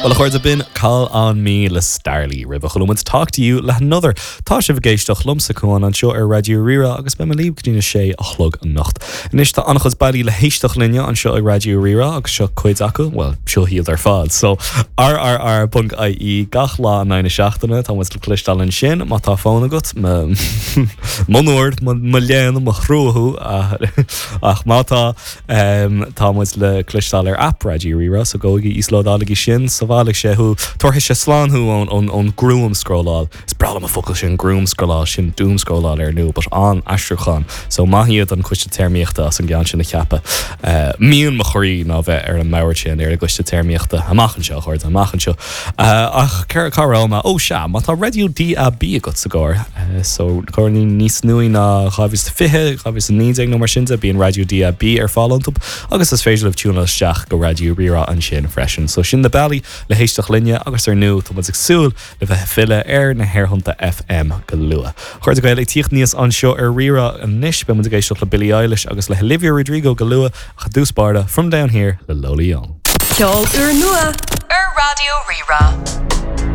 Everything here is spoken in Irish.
Bhuel a chairde b'in Call on Me le Starley roimhe chuala muid Talk to You le hAnother. Tá sibh ag éisteacht liomsa Cuán anseo ar Raidió Rí-Rá agus beidh mé libh go dtí na sé a chlog anocht. Anois tá an-chuid bealaí le héisteacht linne anseo ag Raidió Rí-Rá agus seo cuid acu, bhuel seo iad ar fad. So rrr.ie gach lá in aghaidh na seachtaine tá muid le cloisteáil ansin má tá fón agat, mo onóir, mo léan, mo thrua thú ach má tá Tá muid le cloisteáil ar aip Raidió Rí-Rá, so gabhaigí, íoslódálaigí sin, sábhálfaidh sé thú, tabharfaidh sé slán thú ón ón ghruamscrolláil. Is breá liom an focal sin, gruamscrolláil, sin doomscrolláil ar ndóigh, but an-aistriúchán. So maith iad an Coiste Téarmaíochta as an gceann sin a cheapadh. Mian mo chroí ná bheith ar an mbord sin, ar an gCoiste Téarmaíochta. Amach anseo, a chairde, amach anseo. Ach cá raibh mé? Ó sea, má tá raidió DAB agat sa gcarr, so carrannaí níos nuaí ná 2020, 2019 nó mar sin de, bíonn raidió DAB ar fáil iontu agus is féidir libh tiúnáil isteach go Raidió Rí-Rá ansin freisin. So sin na bealaí le héisteacht linne agus ar ndóigh tá muid ag súil le bheith ag filleadh ar na haerthonnta FM go luath. A chairde Gael ag tíocht aníos anseo ar Rí-Rá anois, beidh muid ag éisteacht le Billie Eilish agus le Olivia Rodrigo go luath ach i dtús báire, From Down Here le Lola Young. Ceol úrnua ar Raidió Rí-Rá.